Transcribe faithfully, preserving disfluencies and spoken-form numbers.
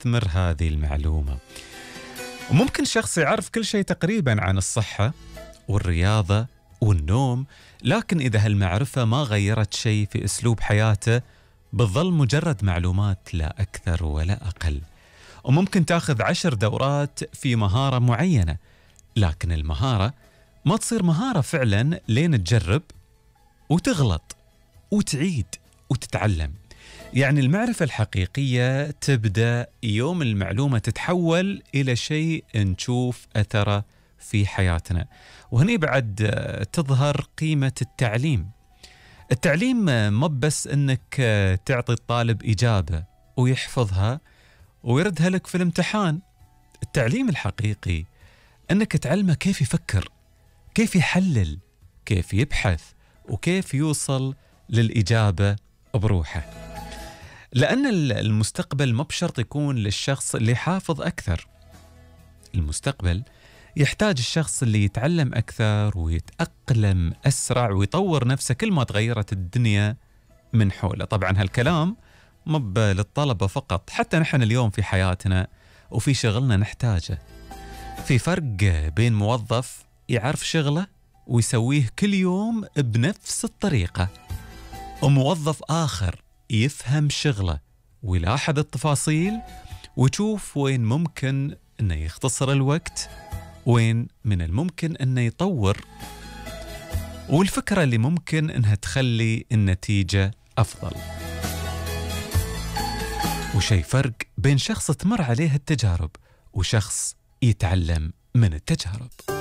تستثمر هذه المعلومة. وممكن شخص يعرف كل شيء تقريبا عن الصحة والرياضة والنوم، لكن إذا هالمعرفة ما غيرت شيء في أسلوب حياته بتظل مجرد معلومات لا أكثر ولا أقل. وممكن تاخذ عشر دورات في مهارة معينة، لكن المهارة ما تصير مهارة فعلا لين تجرب وتغلط وتعيد وتتعلم. يعني المعرفة الحقيقية تبدأ يوم المعلومة تتحول إلى شيء نشوف أثره في حياتنا. وهني بعد تظهر قيمة التعليم. التعليم ما بس أنك تعطي الطالب إجابة ويحفظها ويردها لك في الامتحان. التعليم الحقيقي أنك تعلمه كيف يفكر، كيف يحلل، كيف يبحث، وكيف يوصل للإجابة بروحه. لأن المستقبل ما بشرط يكون للشخص اللي حافظ أكثر. المستقبل يحتاج الشخص اللي يتعلم أكثر ويتأقلم أسرع ويطور نفسه كل ما تغيرت الدنيا من حوله. طبعا هالكلام مب للطلبة فقط، حتى نحن اليوم في حياتنا وفي شغلنا نحتاجه. في فرق بين موظف يعرف شغله ويسويه كل يوم بنفس الطريقة، وموظف آخر يفهم شغله ويلاحظ التفاصيل ويشوف وين ممكن أنه يختصر الوقت، وين من الممكن أنه يطور، والفكرة اللي ممكن أنها تخلي النتيجة أفضل. وشي فرق بين شخص تمر عليه التجارب وشخص يتعلم من التجارب.